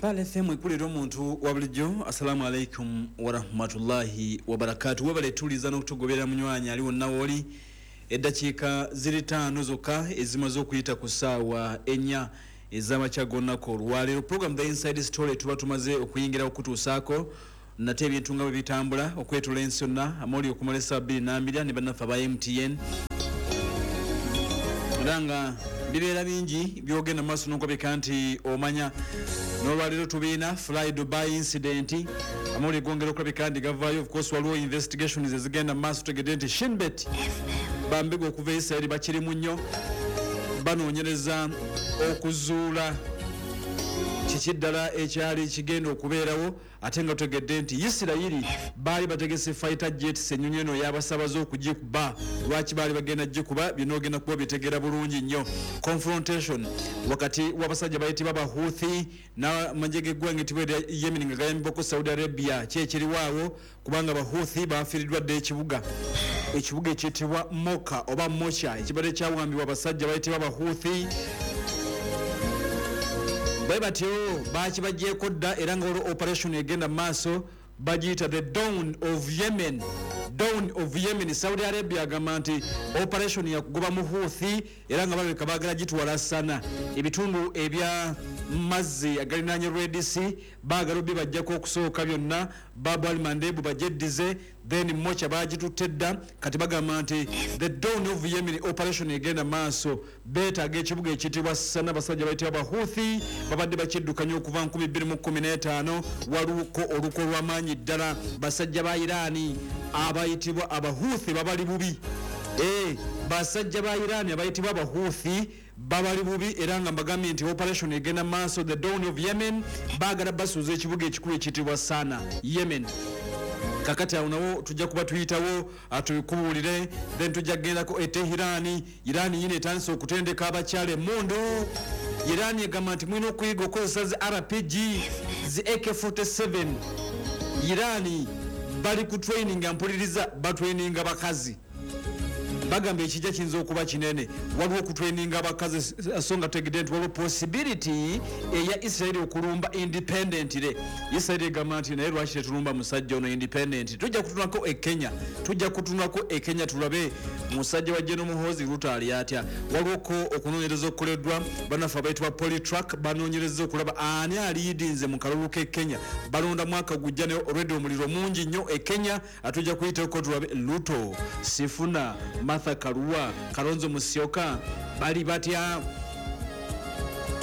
Pearl FM ekulira omuntu wa bulijjo. Assalamu alaikum warahmatullahi wabarakatu. Webale tuliza n'okutugoberera munywanyi ali wonna wooli. Eddakiika ziri 5 zokka ezimaze okuyita ku ssaawa 4 ez'amakya g'olunaku olwaleero. Program The Inside Story tuba tumaze okuyingira okutuusaako nate ebintu nga bwe bitambula okwetoola ensi yonna, amawulire okumala essaawa 2:02 ne bannaffe aba MTN. Era nga bibeera bingi by'ogenda mu maaso n'okulabika nti omanya. N'olwaleero tubiina Fly Dubai incident, amawulire gongera okulabika nti gavaayo. Of course waliwo investigations ezigenda mu maaso, tutegedde nti Shinbet bambega okuva e Israel bakirimu nnyo, banoonyereza okuzuula kiki ddala ekyali kigenda okubeerawo. Ate nga tutegedde nti Isirayiri baali bategese fighter jets, ennyonyi eno y'abasabaze okugikuba. Lwaki baali bagenda gikuba? Byonna ogenda kuba obitegeera bulungi nnyo. Confrontation wakati w'abasajja bayitibwa Abahuthi n'amagye g'eggwanga etibwa erya Yemen nga gayambibwako Saudi Arabia, ki ekiriwaawo kubanga Abahuthi bafiiriddwa dda ekibuga, ekibuga ekiyitibwa Moka oba Mocha ekibadde kyawambibwa abasajja bayitibwa Abahuthi. Bwe batyo bakibagyeko dda, era nga waliwo operation egenda mu maaso bagiyita the Dawn of Yemen. Dawn of Yemen. Saudi Arabia agamba nti operation yakugoba mu Houthi, era nga balabika baagala gitwala Sana, ebitundu ebya mazzi agalinaanye Red Sea baagala obibajjako okusooka byonna, Bab al Mandeb bagyeddize, then Mocha bagitutte dda. Kati bagamba nti the Dawn of Yemen operation egenda maaso, beetaaga ekibuga ekiyitibwa Sana. Abasajja bayitibwa Abahuthi babadde bakiddukanya okuva 2015. Waluko oluko lw'amaanyi ddala, basajja ba Irani abayitibwa Abahuthi babali bubi. Basajja ba Irani abayitibwa Abahuthi babali bubi, era nga mbagambye nti operation egenda maaso, the Dawn of Yemen, baagala basuuza ekibuga ekikulu ekiyitibwa Sana, Yemen. Kakati awo nawo tujja kuba tuyitawo tubikubuulire, then tujja kugendako e Tehran. Iran yino etandise okutendeka abakyala emmundu. Iran egamba nti mulina okuyiga okukozesa zi RPG, zi AK-47. Iran bali ku training, mpuliriza, batraininga bakazi. Bagamba ekijja kiyinza okuba kinene. Waliwo okutraininga abakazi, so nga tutegedde nti waliwo possibility eya Israel okulumba independently. Israel egamba nti naye lwaki tetulumba musajja ono independent? Tujja kutunulako e Kenya, tujja kutunulako e Kenya tulabe musajja wa General Muhoozi Ruto ali atya. Waliwoko okunoonyereza okukoleddwa bannaffe abayitibwa Polytrack, banoonyereza okulaba ani aliidinze mu kalulu k'e Kenya. Balonda mwaka gujja, naye already omuliro mungi nnyo e Kenya. Atujja kuyitako tulabe Ruto, Sifuna, Martha Karua, Kalonzo Musyoka bali batya.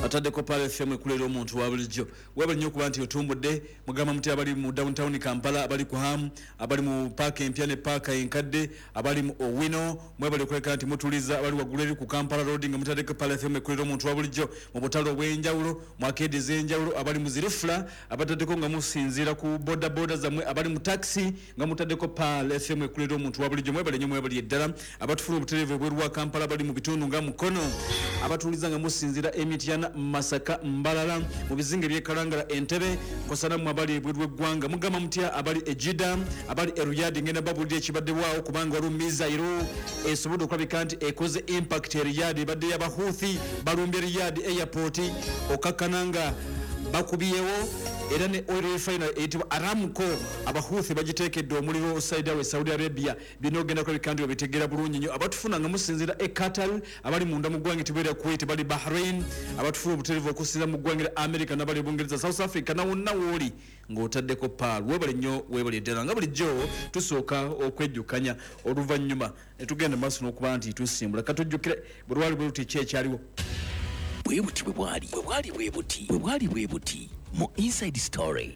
Ataddeko Pearl FM ekulera omuntu wa bulijjo. Webale nnyo okuba nti otumbudde. Mugamba muti abali mu downtown Kampala, abali ku Ham, abali mu paaka empya ne paaka enkadde, abali mu Owino, mwebale okuleka nti mutuliza. Abali waggulu eri ku Kampala Road nga mutaddeko Pearl FM ekulera omuntu wa bulijjo mu butale obw'enjawulo, mu arcade ez'enjawulo, abali mu zirifula, abataddeko nga musinziira ku boda boda zammwe, abali mu taxi nga mutaddeko Pearl FM ekulera omuntu wa bulijjo. Mwebale nnyo, mwebale ddala. Abatufuna obutereevu ebweru wa Kampala, abali mu bitundu nga Mukono, abatuliza nga musinziira Emityana, Masaka, Mbalala, mu bizinga eby'e Kalangala, Entebbe, kosana mmwe abali ebweru w'eggwanga. Mugamba mutya abali e Jeddah, abali e Riyadh? Ngenda babuulira ekibaddebwawo kubanga waliwo missile esobodde okulabika nti ekoze impact e Riyadh, ebadde y'Abahuthi, balumbye Riyadh airport, okakkana nga bakubyewo era ne oil refinery eyitibwa Aramco, Abahuthi bagiteekedde omuliro side awe Saudi Arabia. Byonna ogenda kulabika nti obitegeera bulungi nnyo. Abatufuna nga musinziira e Qatar, abali munda mu ggwanga etibwa erya Kuwait, bali Bahrain, abatufuna obutereevu okusinziira mu ggwanga erya America, n'abali Bungereza, South Africa, nawonna wooli ng'otaddeko Pearl, weebale nnyo, weebale ddala. Nga bulijjo tusooka okwejjukanya, oluvannyuma ne tugenda maaso n'okuba nti tusimbula. Katujjukire bwe lwali bwe luti ki ekyaliwo. Bwe buti bwe bwali, bwe bwali bwe buti, bwe bwali bwe buti mu Inside Story.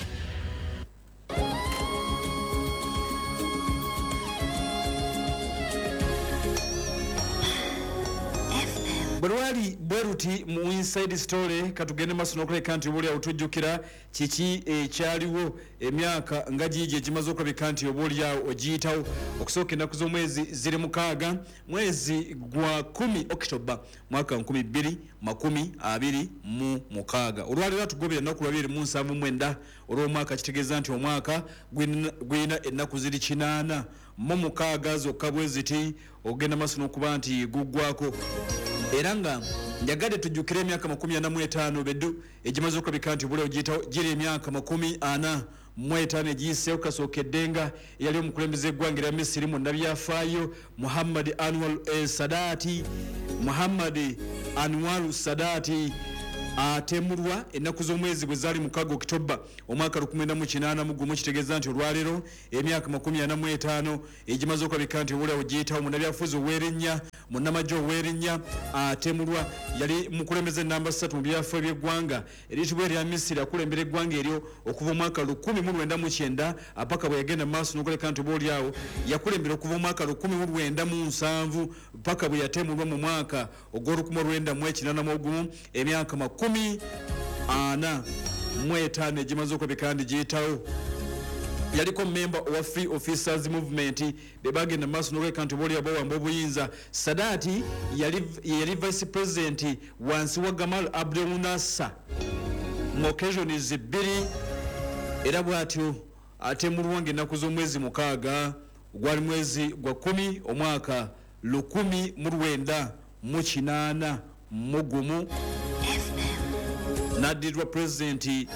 Bwe lwali bwe luti mu Inside Story, katugende maaso n'okuleka nti obaoliawo tujjukira kiki ekyaliwo emyaka nga giigi egimaze okulabika nti oba oliawo ogiyitawo. Okusooka ennaku z'omwezi ziri 6, mwezi gwa 10, Okitoba, mwaka 2026. Olwaleero atugobera ennaku lwa 279 olw'omwaka, kitegeeza nti omwaka gulina ennaku ziri 86 zokka bwe ziti ogenda maaso n'okuba nti guggwako. Era nga njagadde tujjukire emyaka 45 beddu egimaze okulabika nti obulyawo giyitawo, giri emyaka 45 egiyiseewo kasookedde nga eyali omukulembeze eggwanga erya Misiri munnabyafaayo Muhammad Anwar Sadati, Muhammad Anwar Sadati atemulwa ennaku z'omwezi bwe zaali 6 Okitoba omwaka 1981. Kitegeeza nti olwaleero emyaka 45 egimaze okulabika nti obulyawo giyitawo, munnabyafuzi ow'erinnya, munnamagye ow'erinnya atemulwa. Yali mukulembeze namba 3 mu byafaayo by'eggwanga eriyitibwa erya Misiri, akulembera eggwanga eryo okuva omwaka 1990 paka bwe yagenda mu maaso n'okuleka nti oba oliawo yakulembera okuva omwaka 1970 paka bwe yatemulwa mu mwaka ogw'olukumi lwenda mu ekinaana mu ogumu, emyaka 45 egimaze okulabika nti giyitawo. Yaliko memba owa Free Officers Movement, be bagenda mu maaso n'okuleka nti oba bawamba obuyinza. Sadati yali vice president wansi wa Gamal Abdel Nasser mu occasions 2, era bw'atyo atemulwa ng'ennaku z'omwezi 6 gwali mwezi gwa 10 omwaka 1981, n'addirirwa pulezidenti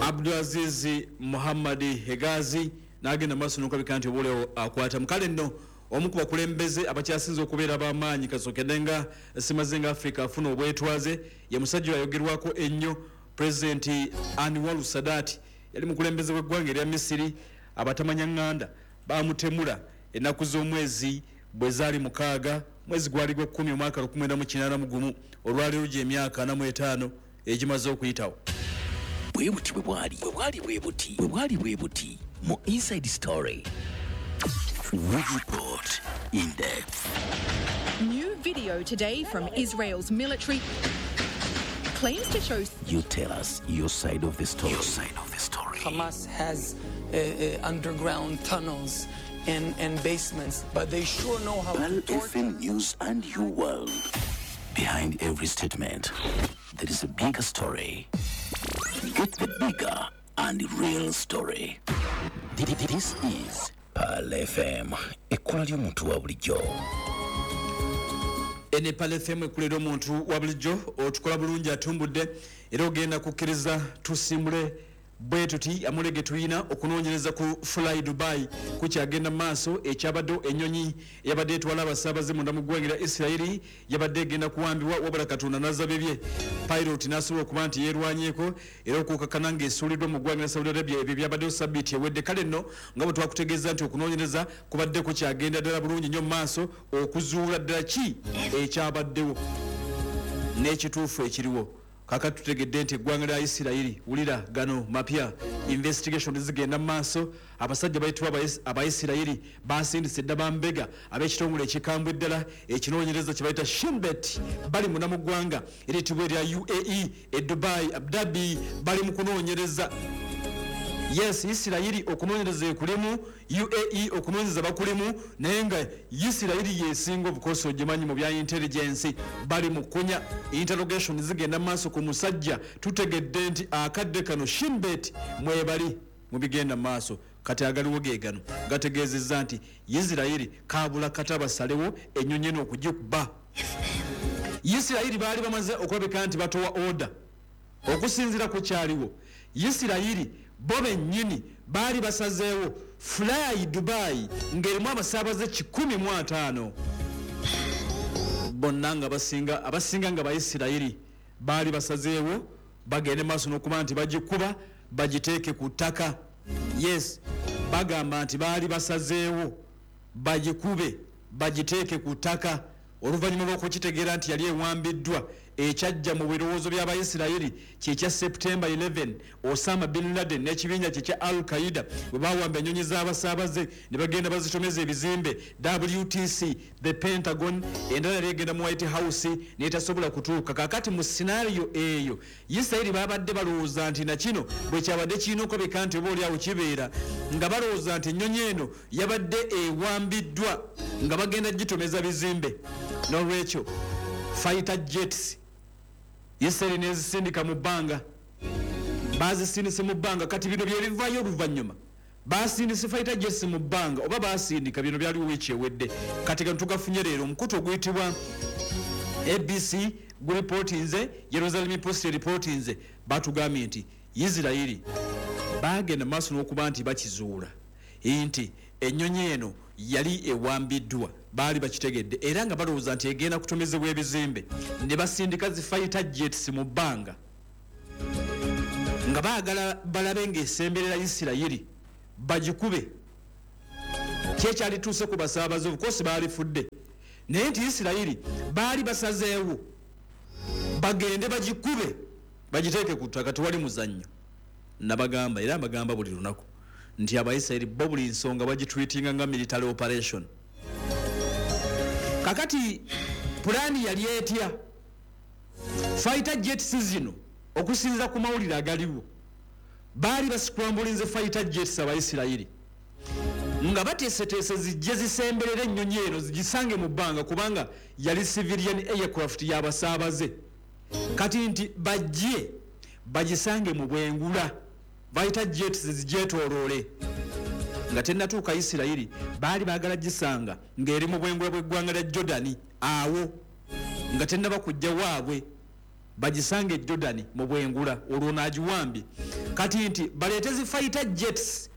Abdulaziz Muhammad Hegazi, n'agenda maaso n'okulabika nti obulewo akwata. Mukale nno omu ku bakulembeze abakyasinze okubeera ab'amaanyi kasookedde nga simaze nga Africa afuna obwetwaze, ye musajja ayogerwako ennyo, pulezidenti Anwar Sadat. Yali mukulembeze w'eggwanga erya Misiri. Abatamanya ŋŋanda bamutemula ennaku z'omwezi bwe zaali 6 mwezi gwali gwa 10 omwaka 1981. Olwaleero gy'emyaka 45 egimaze okuyitawo. Bwe buti bwe bwali, bwe bwali bwe buti, bwe bwali bwe buti mu Inside Story. We report in depth. New video today from Israel's military claims to show You tell us your side of the story. Your side of the story. Hamas has underground tunnels and basements, but they sure know how Pearl to torture. FM News and your world. Behind every statement, there is a bigger story. Get the bigger and real story. This is Pearl FM, ekkola ly'omuntu wa bulijjo. Ene Pearl FM ekulera omuntu wa bulijjo. Otukola bulungi atumbudde, era ogenda kukkiriza tusimbule bwe tuti amulege. Tuyina okunoonyereza ku Fly Dubai kukyagenda mu maaso. Ekyabaddewo, ennyonyi eyabadde etwala abasaabaze munda mu ggwanga erya Isirayiri yabadde egenda kuwambibwa, wabula Katonda n'azza bibye, pilot n'asobola okuba nti yeerwanyeko era okukakkana ng'esuuliddwa mu ggwanga lya Saudi Arabia. Ebyo byabaddewo sabbiiti ewedde. Kale nno nga bwe twakutegeeza nti okunoonyereza kubadde kukyagenda ddala bulungi nnyo mu maaso okuzuula ddala ki ekyabaddewo n'ekituufu ekiriwo. Kakati tutegedde nti eggwanga lya Isirayiri, wulira gano mapya, investigation zigenda mu maaso. Abasajja bayitibwa Abaisirayiri basindise dda bambega ab'ekitongole ekikambwe ddala ekinoonyereza kye bayita Shinbet. Bali muna mu ggwanga eriyitibwa erya UAE, e Dubai, Abu Dhabi, bali mu kunoonyereza. Yes, Isirayiri okunoonyereza ekulimu, UAE okunoonyereza bakulimu, naye nga Isirayiri yesinga obukosi ogimanyi mu bya intelligence. Bali mu kunya, interrogation zigenda mu maaso ku musajja. Tutegedde nti akadde kano Shinbet mwebali mu bigenda mu maaso. Kati agaliwo ge gano gategeezezza nti Isirayiri kabula kata basalewo ennyonyi eno okugikuba. Isirayiri baali bamaze okulabika nti batowa order. Okusinziira ku kyaliwo, Isirayiri bo bennyini baali basazeewo Fly Dubai ng'erimu abasaabaze 150 bonna nga abasinga nga Baisirayiri, baali basazeewo bagende maaso n'okuba nti bagikuba bagiteeke ku ttaka. Yes, bagamba nti baali basazeewo bagikube bagiteeke ku ttaka oluvannyuma lw'okukitegeera nti yali ewambiddwa. Ekyajja mu birowoozo by'Abayisirayiri kyekya September 11, Osama bin Laden n'ekibinja kye kya Al Qaida bwe bawamba ennyonyi z'abasaabaze ne bagenda bazitomeza ebizimbe WTC, the Pentagon, endala yali egenda mu White House netasobola kutuuka. Kakati mu scenario eyo Isirayiri babadde balowooza nti nakino bwe kyabadde kirina okulabika nti oba oliawo kibeera nga balowooza nti ennyonyi eno yabadde ewambiddwa nga bagenda gitomeza bizimbe. N'olwekyo fighter jets Isirayiri nezisindika mu bbanga, bazisindise mu bbanga. Kati bino byebivaayo oluvannyuma. Basindise fighter jets mu bbanga oba basindika, bino byaliwo wiiki ewedde. Kati gano tugafunye leero. Omukutu oguyitibwa ABC guripootinze, Jerusalem Post eripootinze, batugambye nti Isirayiri bagenda maaso n'okuba nti bakizuula nti ennyonyi eno yali ewambiddwa. Baali bakitegedde era nga balowooza nti egenda kutomezebwa ebizimbe, ne basindika zi fighter jets mu bbanga nga baagala balabe ng'esemberera Isirayiri bagikube. Kyekyalituuse ku basaabaze, of course baalifudde, naye nti Isirayiri baali basazeewo bagende bagikube bagiteeke ku ttaka, tewali muzannyo. Nabagamba era mbagamba buli lunaku nti Abaisirayiri bo buli nsonga bagitreatinga nga military operation. Kakati pulaani yali etya? Fighter jets zino, okusinziira ku mawulire agaliwo, baali bascramblinze fighter jets Abaisirayiri nga bateeseteese zijje zisemberera ennyonyi eno, zigisange mu bbanga, kubanga yali civilian aircraft y'abasaabaze. Kati nti bajje bagisange mu bwengula, fighter jets zigyetooloole nga tennatuuka Isirayiri. Baali baagala gisanga ng'eri mu bwengula bw'eggwanga lya Jordani awo nga tennaba kujja waabwe, bagisange e Jordani mu bwengula, olwo naagiwambye. Kati nti baleete zi fighter jets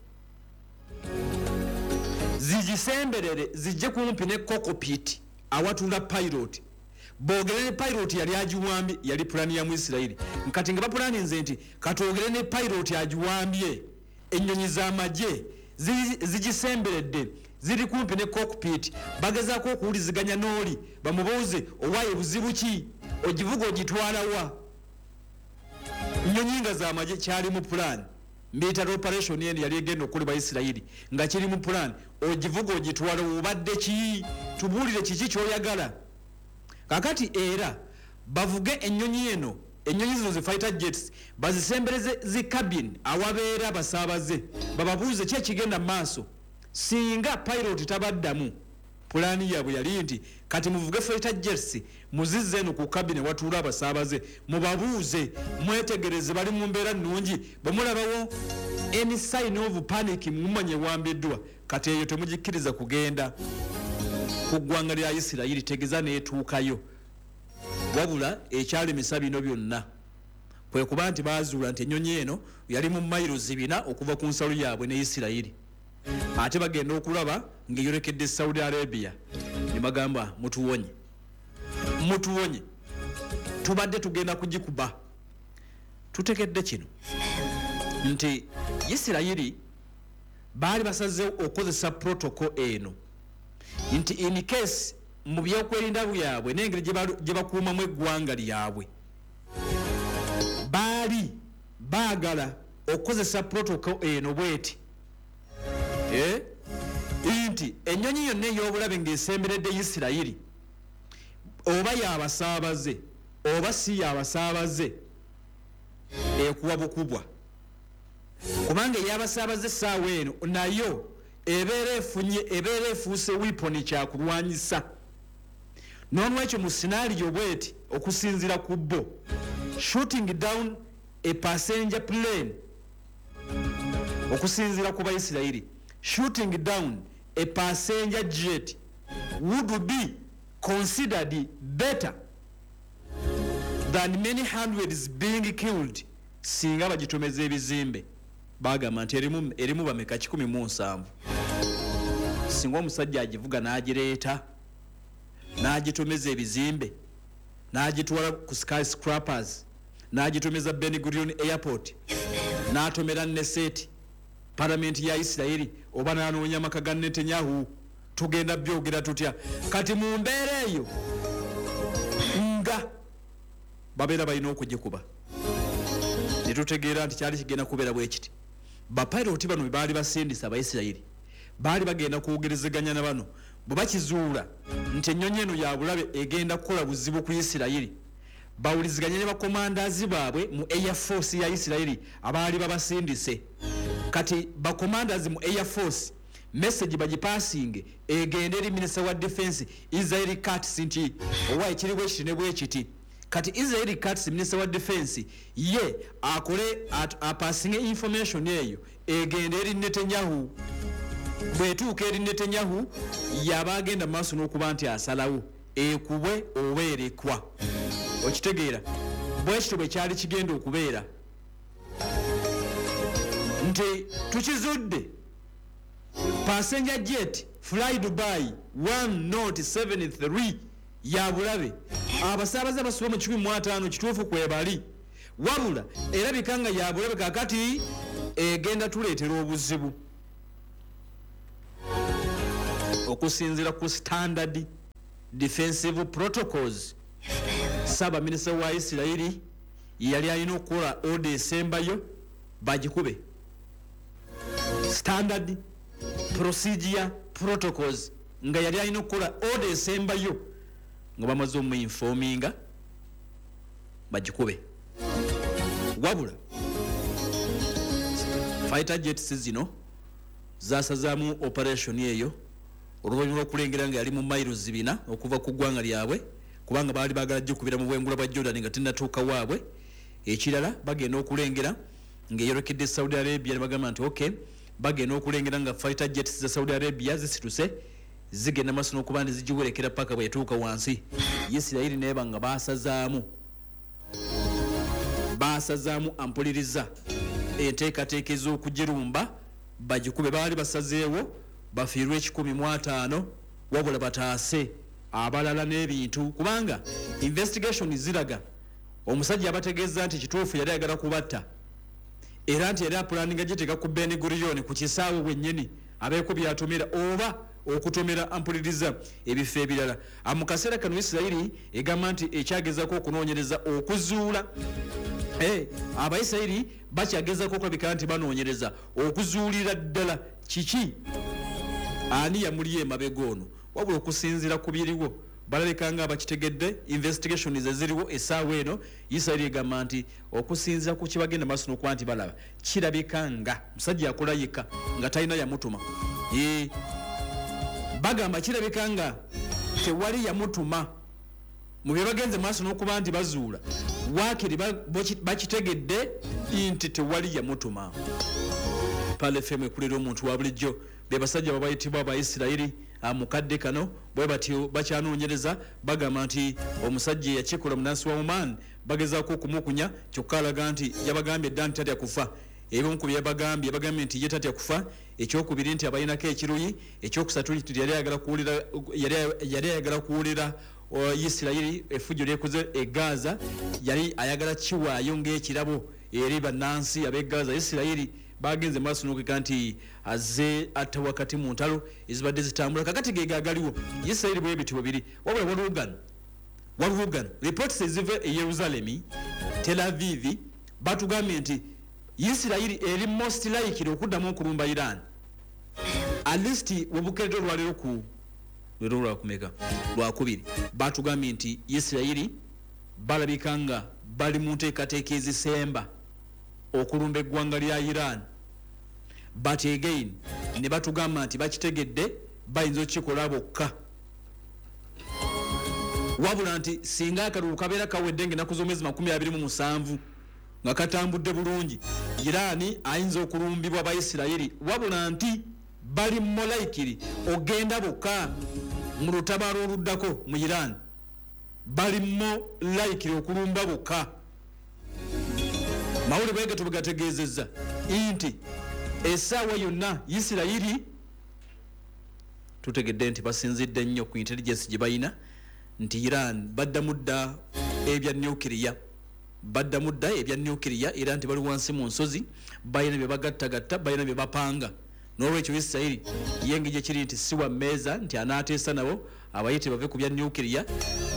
zigisemberere, zijje kumpi ne cockpit awatula pilot, boogere ne pilot yali agiwambye. Yali pulani ya mu Isirayiri. Kati nga bapulaninze nti katwogere ne pilot agiwambye, ennyonyi z'amagye zigisemberedde, ziri kumpi ne cockpit, bagezaako okuwuliziganya n'oli bamubuuze, "Owaaye buzibu ki? Ogivuga ogitwalawa?" Nnyonyi nga z'amagye. Kyali mu pulaani. Military operation eno yali egenda okukolebwa Isirayiri nga kiri mu pulaani. Ogivuga ogitwala, obadde ki? Tubuulire kiki kyoyagala. Kakati era bavuge ennyonyi eno, ennyonyi zino zi fighter jets, bazisembereze zi cabin awabeera abasaabaze, bababuuze ki ekigenda mu maaso. Singa pilot tabaddamu, pulaani yaabwe yali nti kati muvuge fighter jets muzizze eno ku cabin watuula abasaabaze, mubabuuze, mwetegereze bali mu mbeera nnungi. Bwe mulabawo any sign of panic, mumanye wambiddwa. Kati eyo temugikkiriza kugenda ku ggwanga lya Isirayiri, tegeza n'etuukayo. Wabula ekyalemesa bino byonna kwe kuba nti bazuula nti ennyonyi eno yali mu mayiro 400 okuva ku nsalo yaabwe ne Isirayiri, ate bagenda okulaba ng'eyolekedde Saudi Arabia, ne bagamba, "Mutuwonye, mutuwonye, tubadde tugenda kugikuba." Tutegedde kino nti Isirayiri baali basazeewo okukozesa protocol eno nti in case mu byokwerinda byabwe n'engeri gye bakuumamu eggwanga lyabwe, baali baagala okukozesa protocol eno bweti, nti ennyonyi yonna ey'obulabe ng'esemberedde Isirayiri, oba yabasaabaze oba si yabasaabaze, ekuwa bukubwa, kubanga eyabasaabaze essaawa eno nayo ebeera efunye, ebeera efuuse weapon, kyakulwanyisa. Nolwekyo mu scenario bweti, okusinziira ku bo, shooting down a passenger plane, okusinziira ku Baisirayiri, shooting down a passenger jet would be considered better than many hundreds being killed singa bagitomeza ebizimbe. Bagamba nti erimu bameka? 170. Singa omusajja agivuga n'agireeta n'agitomeza ebizimbe, n'agitwala ku skyscrapers, n'agitomeza Ben Gurion Airport, n'atomera Knesset, palamenti ya Isirayiri, oba n'anoonya amaka ga Netanyahu, tugenda byogera tutya? Kati mu mbeera eyo nga babeera balina okugikuba. Ne tutegeera nti kyali kigenda kubeera bwe kiti: bapiloti bano bwe baali basindisa, Abaisirayiri baali bagenda kwogerezeganya na bano. Bwe bakizuula nti ennyonyi eno ya bulabe, egenda kukola buzibu ku Isirayiri, bawuliziganye ne bakomandazi baabwe mu Air Force ya Isirayiri abaali babasindise. Kati bakomandazi mu Air Force message bagipasinge egende eri minisita wa defense Israel Katz nti owa ekiri bwe kiti ne bwe kiti. Kati Israel Katz, minisita wa defense, ye akole apasinge information eyo egende eri Netanyahu. Bwetuuka eri Netanyahu, yaba agenda maaso n'okuba nti asalawo ekubwe oba erekwa. Okitegeera? Bwekityo bwe kyali kigenda okubeera nti tukizudde passenger jet Fly Dubai 1073 ya bulabe, abasaabaze basoba mu 150 kituufu kwebali, wabula erabika nga ya bulabe, kakati egenda tuleetera obuzibu okusinziira ku standard defensive protocols. Ssaabaminisita wa Isirayiri yali alina okukola order esembayo bagikube. Standard procedure protocols, nga yali alina okukola order esembayo nga bamaze omuinforminga bagikube. Wabula fighter jets zino zasazaamu operation eyo oluvannyuma lw'okulengera nga yali mu miles 4 okuva ku ggwanga lyabwe, kubanga baali baagala gikubira mu bwengula bwa Jordan nga tennatuuka waabwe. Ekirala, bagenda okulengera ng'eyolekedde Saudi Arabia ne bagamba nti ok, bagenda okulengera nga fighter jets za Saudi Arabia zisituse zigenda maaso n'okuba nti zigiwerekera paka bwe yatuuka wansi. Isirayiri neeba nga basazaamu ampuliriza enteekateeka ez'okugirumba bagikube. Baali basazeewo bafiirwe 150, wabula bataase abalala n'ebintu, kubanga investigation ziraga omusajja abategeeza nti kituufu yali ayagala kubatta, era nti yali apulaninga giteeka ku Ben Gurion ku kisaawe bwennyini abeeko byatomera oba okutomera ampuliriza ebifo ebirala. Mu kaseera kano Isirayiri egamba nti ekyagezako okunoonyereza okuzuula, Abayisirayiri bakyagezako okulabika nti banoonyereza okuzuulira ddala kiki, ani yamuli emabega ono. Wabula okusinziira ku biriwo, balabika nga abakitegedde. Investigations eziriwo essaawa eno, Isirayiri egamba nti okusinziira ku kibagenda maaso n'okuba nti balaba, kirabika nga musajja yakola yekka nga talina yamutuma. Bagamba kirabika nga tewali yamutuma mu bye bagenze maaso n'okuba nti bazuula. Waakiri bakitegedde nti tewali yamutuma. Pearl FM ekulira omuntu wa bulijjo. Be basajja babayitibwa Abaisirayiri. Mukadde kano bwe batyo bakyanoonyereza. Bagamba nti omusajja eyakikola munansi wa Oman, bagezaako okumukunya, kyokka alaga nti yabagambye dda nti tatya kufa. Ebimu ku byebagambye, bagambye nti ye tatya kufa, ekyokubiri nti abalinako ekiruyi, ekyokusatu nti yali ayagala kuwulira Isirayiri effujjo lyekoze e Gaza, yali ayagala kiwaayo ng'ekirabo eri bannansi ab'e Gaza. Isirayiri bagenze maaso n'okweka nti azze atta wakati mu ntalo ezibadde zitambula. Kakati ge gagaliwo Isirayiri bwe bityo biri. Wabula waliwo gano reports eziva e Yerusaalemi, Tel Aviv, batugambye nti Isirayiri eri most likely okuddamu okulumba Iran, at least webukeredde olwaleero ku leero lwakumeka, Lwakubiri. Batugambye nti Isirayiri balabika nga bali mu nteekateeka ezisemba okulumba eggwanga lya Iran, but again ne batugamba nti bakitegedde bayinza okukikola bokka, wabula nti singa akalulu kabeera kawedde nga ennaku z'omwezi 27 nga katambudde bulungi, Iran ayinza okulumbibwa Baisirayiri, wabula nti bali more likely ogenda bokka mu lutabaalo oluddako mu Iran. Bali more likely okulumba bokka. Mawulire bwegato bwegategeezezza nti essaawa yonna Isirayiri tutegedde nti basinzidde nnyo ku intelligence gye balina nti Iran baddamu dda ebya nuclear, baddamu dda ebya nuclear, era nti bali wansi mu nsozi, balina bye bagattagatta, balina bye bapanga. N'olwekyo Isirayiri ye engeri gyekiri nti si wa mmeeza nti anaateesa nabo abayite bave ku bya nuclear,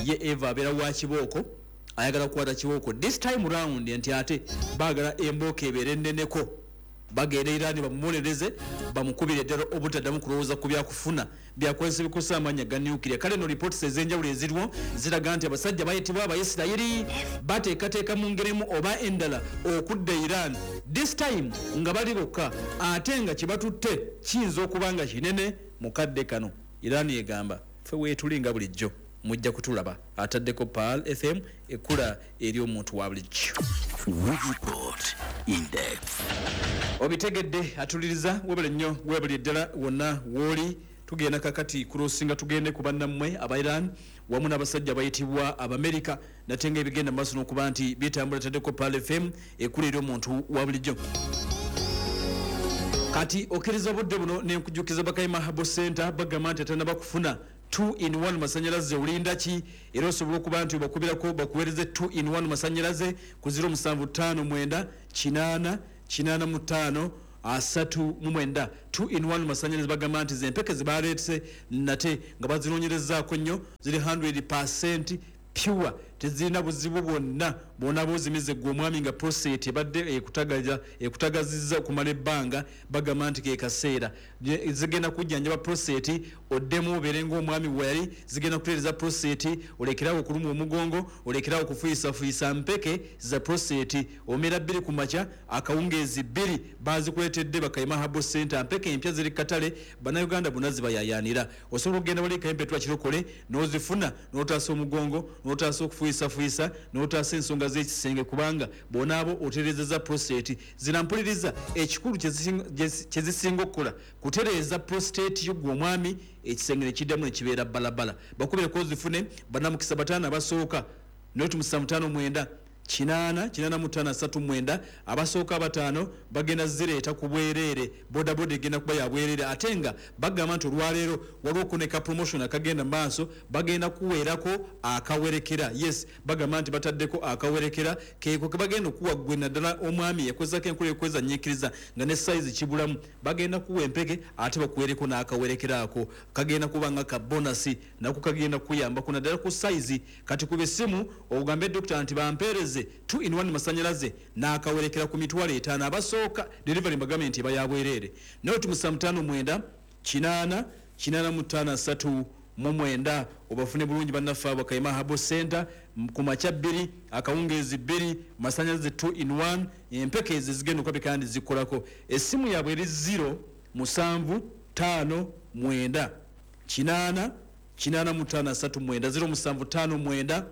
ye eva abeera wa kibooko, ayagala kukwata kibooko this time round, nti ate baagala embooko ebeere enneneko, bagenda Irani bamuwolereze, bamukubire ddala obutaddamu kulowooza ku byakufuna byakozesa ebikosa amaanyi aga nuclear. Kale no reports ez'enjawulo eziriwo ziraga nti abasajja bayitibwa Abaisirayiri bateekateeka mu ngeri emu oba endala okudda Iran, this time nga bali bokka, ate nga kye batutte kiyinza okuba nga kinene. Mu kadde kano Iran egamba ffe weetuli nga bulijjo. Mujja kutulaba. Ataddeko Pearl FM, ekkula eri omuntu wa bulijjo. We report in depth. Obitegedde, atuliriza, webale nnyo, webale ddala wonna wooli. Tugenda kakati kulosinga, tugende ku bannammwe aba Iran wamu n'abasajja abayitibwa Abamerika, nate nga ebigenda mu maaso n'okuba nti bitambula. Taddeko Pearl FM, ekkula eri omuntu wa bulijjo. Kati okkiriza obudde buno nenkujjukiza Bakayima Herbal Center, bagamba nti atanaba kufuna 2 in 1 masanyalaze, olinda ki? Era osobola okuba nti obakubirako bakuweereze 2 in 1 masanyalaze ku 0759 8 85 39. 2 in 1 masanyalaze, bagamba nti zempeke zebaleetse nate nga bazinoonyerezaako nnyo, ziri 100% pure, tezirina buzibu bwonna bwona. Bwozimize gwe omwami nga prostate ebadde ekutagazizza okumala ebbanga, bagamba nti ke kaseera. Zigenda kujjanjaba prostate, oddemu obeere ng'omwami weyali. Zigenda kutereeza prostate, olekerawo okulumwa omugongo, olekerawo okufuyisafuyisa. Mpeke za prostate, omera 2 ku makya, akawungeezi 2. Bazikuleetedde Bakayima Herbal Center. Mpeke empya ziri katale, Bannayuganda bonna zibayayaanira. Osobola okugenda wali Kayempetwa Kirokole n'ozifuna, n'otaasa omugongo, n'otaasa okufuyisafuyisa, n'otaasa ensonga z'ekisenge, kubanga bonaabo otereezeza prostate. Zinampuliriza, ekikulu kyezisinga okukola kutereeza prostate yo gwe omwami, ekisenge nekiddamu nekibeera balabala. Bakubireko ozifune. Bannamukisa 5 abasooka, noti 759 8 85 39. Abasooka 5 bagenda zireeta ku bwereere, bodaboda egenda kuba ya bwereere. Ate nga bagamba nti olwaleero waliwo okuneka promotion akagenda mu maaso, bagenda kuweerako akawerekera. Yes, bagamba nti bataddeko akawerekera keeko ke bagenda okuwa ggwe, naddala omwami yakozesako enkola ekweza nyiikiriza nga ne sayizi kibulamu. Bagenda kuwa empeke ate bakuweereko n'akawerekera, ako kagenda kuba nga ka bonus, nako kagenda kuyambako naddala ku sayizi. Kati kuba essimu ogambe dokita nti bampeereze 2 in 1 masanyalaze n'akawerekera ku 50,000. Abasooka, delivery mbagambye nti eba ya bwereere. Noti 759 8 85 39, obafune bulungi bannaffe abo Kayima Herbal Center. Ku makya 2, akawungeezi 2, masanyalaze 2 in 1, empeke ezo zigenda okwabika kandi zikolako. Essimu yaabwe eri 0 7 5 9 8 85 39, 0 7 5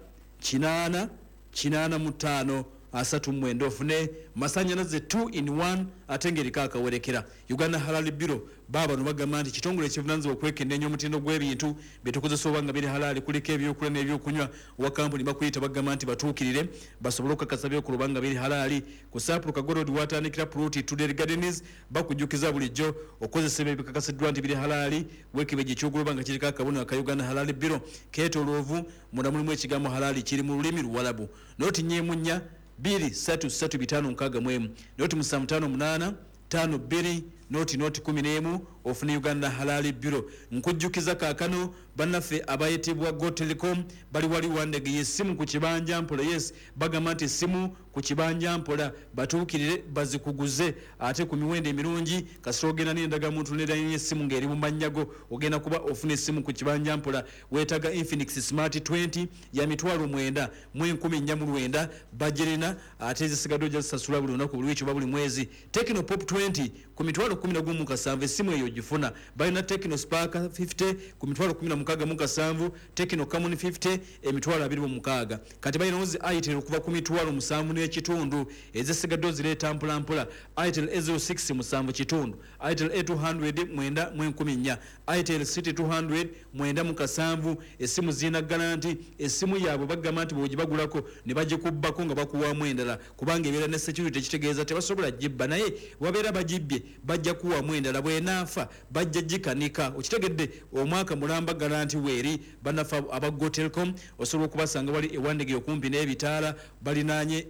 9 8 85 39, ofune masanyalaze 2 in 1 ate ng'eriko akawerekera. Uganda Halal Bureau baabano bagamba nti kitongole ekivunanyizibwa okwekenneenya omutindo gw'ebintu byetukozesa oba nga biri halaali, kuliko ebyokulya n'ebyokunywa. Owa kampuni bakuyita, bagamba nti batuukirire basobole okukakasa byokola oba nga biri halaali. Ku Saapulu Kagorod watandikira ploti Tudel Gardens. Bakujjukiza bulijjo okozesa ebyo ebikakasiddwa nti biri halaali. Weekebejja ekyogula oba nga kiriko akabonero aka Uganda Halal Bureau, keetooloovu, munda mulimu ekigambo halaali kiri mu lulimi Luwalabu. Noti 4 4 2 3 3 5 6 1, noti 7 5 8 5 2 0 0 11, ofune Uganda Halal Bureau. Nkujjukiza kaakano bannaffe abayitibwa Go Telecom bali wali Wandege, yessimu ku kibanja mpola. Yes, bagamba nti essimu ku kibanja mpola, batuukirire bazikuguze ate ku miwendo emirungi. Kasita ogenda n'endagamuntu nerayini essimu ng'eri mu mannya go, ogenda kuba ofuna essimu ku kibanja mpola. Weetaga Infinix Smart 20 ya 94,409, bagirina, ate ezisigadde ojja zisasula buli lunaku, buli wiiki oba buli mwezi. Tecno Pop 20 ku 117,000, essimu eyo ogifuna. Balina Tecno Spark 50 ku 167,000, Tecno Camon 50 26,000. Kati balinawo zi Itel okuva ku 7,500, ezisigadde ozireeta mpolampola. Itel A06 7,500, Itel A200 9,400, Itel City 200 9,700. Essimu zirina guarantee. Essimu yaabwe bagamba nti bwogibagulako ne bagikubbako nga bakuwaamu endala, kubanga ebeera ne security, ekitegeeza tebasobola gibba, naye wabeera bagibbye bajja kuwamu endala, bwenaafa bajja gikanika. Okitegedde? Omwaka mulamba guarantee weeri. Bannaffe aba Go Telecom osobola okubasanga wali Ewandege okumpi n'ebitaala, balinaanye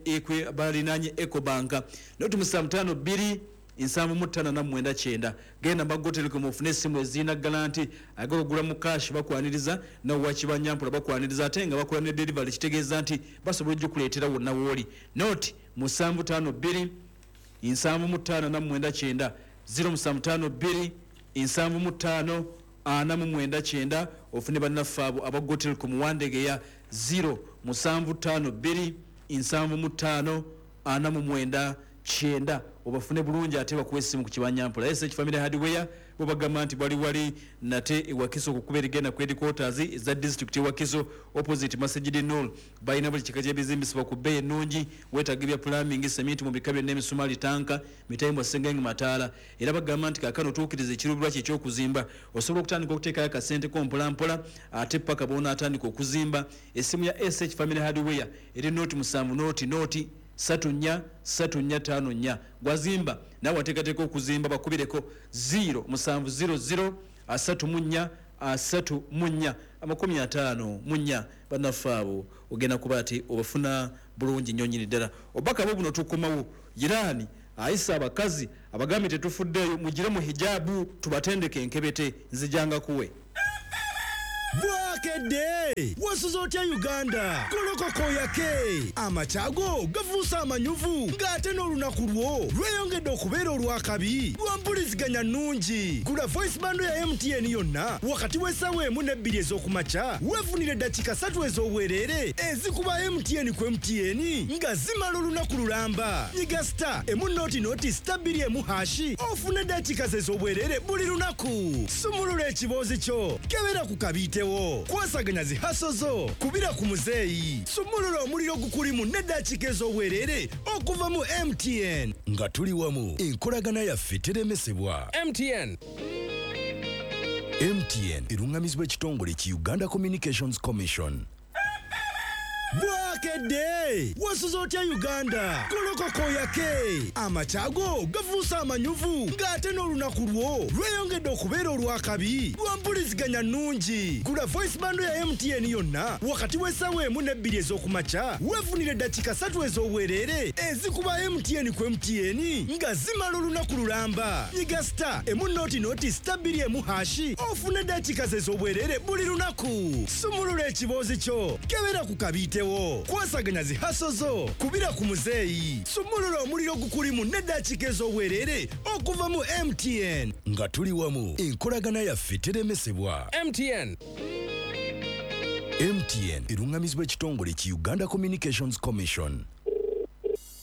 Ecobank. Noti 7 52 75 49 90. Genda mba Go Telecom ofune essimu ezirina guarantee. Ayagala ogula mu cash bakwaniriza, nawe wakibanyampola bakwaniriza, ate nga bakola ne delivery, kitegeeza nti basobola ogikuleetera wonna wooli. Noti 752 75 49 90, 0752 75 49 90, ofune bannaffe abo aba Go Telecom Wandegeya, 0 752 75 49 90, obafune bulungi ate bakuwa essimu ku kibanyampola. SH Family Hardware Bo bagamba nti bali wali nate ewakiso okukuba erigenda ku headquarters eza district ewakiso opposite Masjid Nur. Balina buli kika ky'ebizimbisibwa ku bbeeyi ennungi. Weetaaga ebya plumbing, cement mu bika byonna, emisumaali, tanka, mitayimbwa, sengenge, mataala. Era bagamba nti kaakano otuukiriza ekiruubirwa kye eky'okuzimba, osobola okutandika okuteekayo akasente ko mpolampola ate paka bw'onaatandika okuzimba. Essimu ya SH Family Hardware eri 07 00 34 34 54. Gwazimba nawe wateekateeka okuzimba, bakubireko 0 7 00 34 34 54. Bannaffe abo ogenda kuba ati obafuna bulungi nnyo nnyini ddala. Obubaka bwo buno tukomawo. Iraani ayisa abakazi abagambye tetufuddeeyo, mugire mu hijabu tubatendeke enkebete. Nzijanga kuwe. Bwakedde, wasuze otya Uganda? Golokoka oyake, amakyago gafuuse amanyuvu ng'ate n'olunaku lwo lweyongedde okubeera olwakabi lwa mpuliziganya nnungi. Gula voice bundle ya MTN yonna wakati w'essaawa 1 ne 2 ez'okumakya, weefunire eddakiika 3 ez'obwereere ezikuba MTN ku MTN nga zimala olunaku lulamba. Nyiga *100*21# ofune eddakiika ze ez'obwereere buli lunaku. Sumulula ekiboozi kyo, kebera ku kabiitewo, kwasaganya zi hustle zo, kubira ku muzeeyi, sumulula omuliro gukulimu n'eddakiika ez'obwereere okuva mu MTN. Nga tuli wamu, enkolagana yaffe teremesebwa. MTN. MTN eruŋŋamizibwa ekitongole ki Uganda Communications Commission. Bwakedde, wasuze otya Uganda? Golokoka oyake, amakyago gafuuse amanyuvu ng'ate n'olunaku lwo lweyongedde okubeera olwakabi lwa mpuliziganya nnungi. Gula voice bundle ya MTN yonna wakati w'essaawa 1 ne 2 ez'okumakya, weefunire eddakiika 3 ez'obwereere ezikuba MTN ku MTN nga zimala olunaku lulamba. Nyiga *100*21# ofune eddakiika ze ez'obwereere buli lunaku. Sumulula ekiboozi kyo, kebera ku kabiitewo, kwasaganya zi hustle zo, kubira ku muzeeyi, sumulula omuliro gukulimu n'eddakiika ez'obwereere okuva mu MTN. Nga tuli wamu, enkolagana yaffe teremesebwa. MTN. MTN eruŋŋamizibwa ekitongole ki Uganda Communications Commission.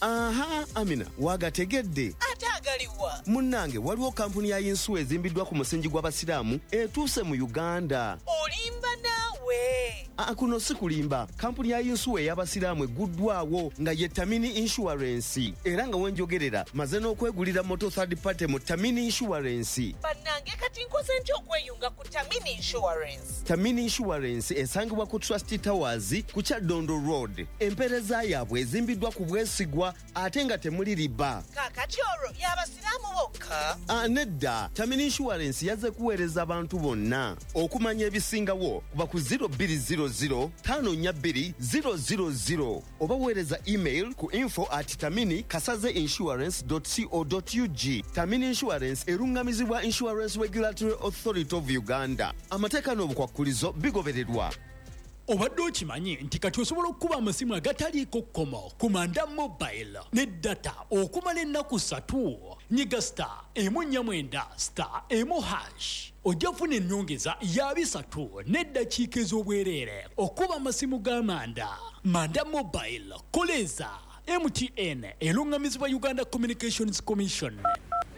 Aha, Amina, wagategedde? Ate agaliwa? Munnange, waliwo kampuni ya yinsuwa ezimbiddwa ku musingi gw'abasiraamu etuuse mu Uganda. Olimba naawe. Aa, kuno si kulimba. Kampuni ya yinsuwa ey'abasiraamu egguddwawo nga ye Tamini Insurance, era nga wenjogerera maze n'okwegulira moto third party mu Tamini Insurance. Bannange, kati nkoze ntya okweyunga ku Tamini Insurance? Tamini Insurance esangibwa ku Trust Towers ku Kyaddondo Road. Empeereza yaabwe ezimbiddwa ku bwesigwa ate nga temuli riba. Kaakati olwo y'abasiraamu bokka? Ah, nedda, Tamini Insurance yazze kuweereza abantu bonna. Okumanya ebisingawo kuba ku 0200 542 000 oba weereza email ku info@taminikasaze insurance co ug. Tamini Insurance eruŋŋamizibwa Insurance Regulatory Authority of Uganda. Amateeka n'obukwakkulizo bigobererwa. Obadde okimanyi nti kati osobola okukuba amasimu agataliiko kkomo ku Manda Mobile ne data okumala ennaku 3? Nyiga *149*1# ojja kufuna ennyongeza ya 300 n'eddakiika ez'obwereere okuba amasimu ga Manda. Manda Mobile, koleeza MTN eruŋŋamizibwa Uganda Communications Commission.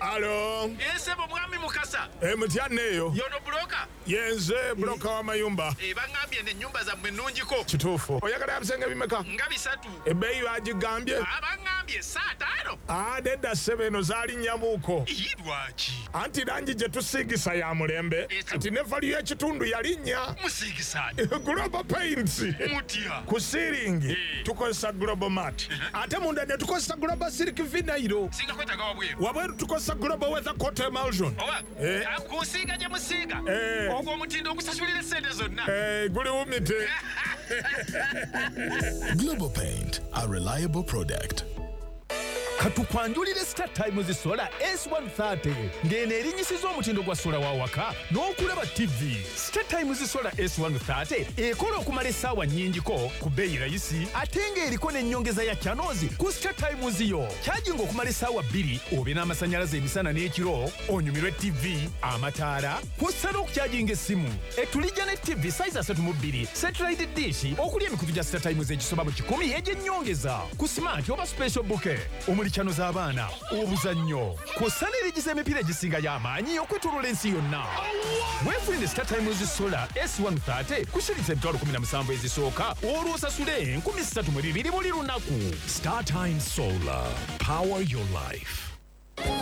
Alo. Esebo mwami Mukasa. MTN eyo. Yono broker. Yenze broker w'amayumba. Bangambye n'ennyumba zammwe nnungiko. Kituufu. Oyagala ebisenge bimeka? Nga 3. Ebbeeyi bagigambye? Bangambye 5. Ah, nedda ssebo, eno zaali nnyamuuko. Ii, lwaki? Anti langi gye tusiigisa ya mulembe. Kati ne value y'ekitundu yalinnya. Musiigisa? Global Paints. Mutya? Ku ceiling tukozesa Global Mat. Ate munda ne tukozesa Global Silk Vinyl. Singa kwetaaga wabweru? Wabweru tukozesa Global Weather Coat Emulsion. Oba kusiiga gye musiiga, ogwo omutindo ogusasulira essente zonna. Guli wumite. Global Paint, a reliable product. Katukwanjulire Star Times Solar S130, ng'eno erinyisiza omutindo gwa sola wa waka n'okulaba TV. Star Times Solar S130 ekola okumala essaawa nnyingiko ku bbeeyi rayisi, ate ng'eriko n'ennyongeza ya channels ku Star Times yo. Kyajinga okumala essaawa 2 obe n'amasannyalaze emisana n'ekiro, onyumirwe TV, amataala, kw'ossa n'okukyajinga essimu. Etulijja ne TV size 32, satellite dish okuli emikutu gya Star Times egisoba mu 100 egy'ennyongeza ku smart oba special bouquet. Omuli channel z'abaana, obuzannyo, kw'ossa ne liigi z'emipiira egisingayo amaanyi okwetooloola ensi yonna. Weefunire Star Times Solar S130 ku shilingi 17,000 ezisooka, olwo osasule 3,200 buli lunaku. Star Times Solar. Power your life.